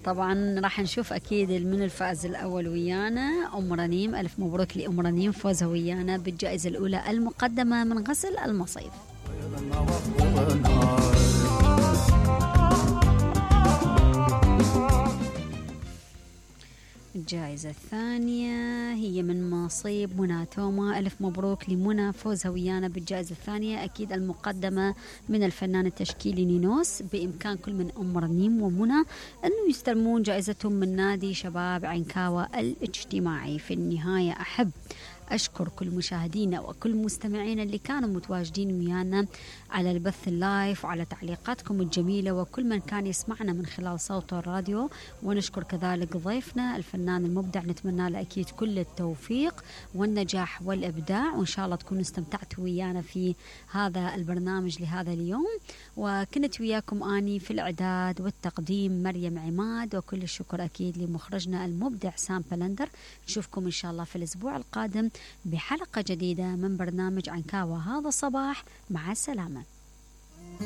طبعا راح نشوف أكيد من الفائز الأول ويانا أم رنيم. ألف مبروك لأم رنيم فوزها ويانا بالجائزة الأولى المقدمة من غسل المصيف. الجائزة الثانية هي من مصيب منى توما. ألف مبروك لمنى فوزها ويانا بالجائزة الثانية أكيد المقدمة من الفنان التشكيلي نينوس. بإمكان كل من أم رنيم ومنى أنه يستلمون جائزتهم من نادي شباب عنكاوة الاجتماعي. في النهاية أحب أشكر كل مشاهدينا وكل مستمعينا اللي كانوا متواجدين ويانا على البث اللايف وعلى تعليقاتكم الجميلة وكل من كان يسمعنا من خلال صوت الراديو. ونشكر كذلك ضيفنا الفنان المبدع، نتمنى له أكيد كل التوفيق والنجاح والإبداع، وإن شاء الله تكونوا استمتعتوا ويانا في هذا البرنامج لهذا اليوم. وكنت وياكم أني في الإعداد والتقديم مريم عماد، وكل الشكر أكيد لمخرجنا المبدع سام بلندر. نشوفكم إن شاء الله في الأسبوع القادم بحلقة جديدة من برنامج عنكاوة هذا الصباح. مع السلامة.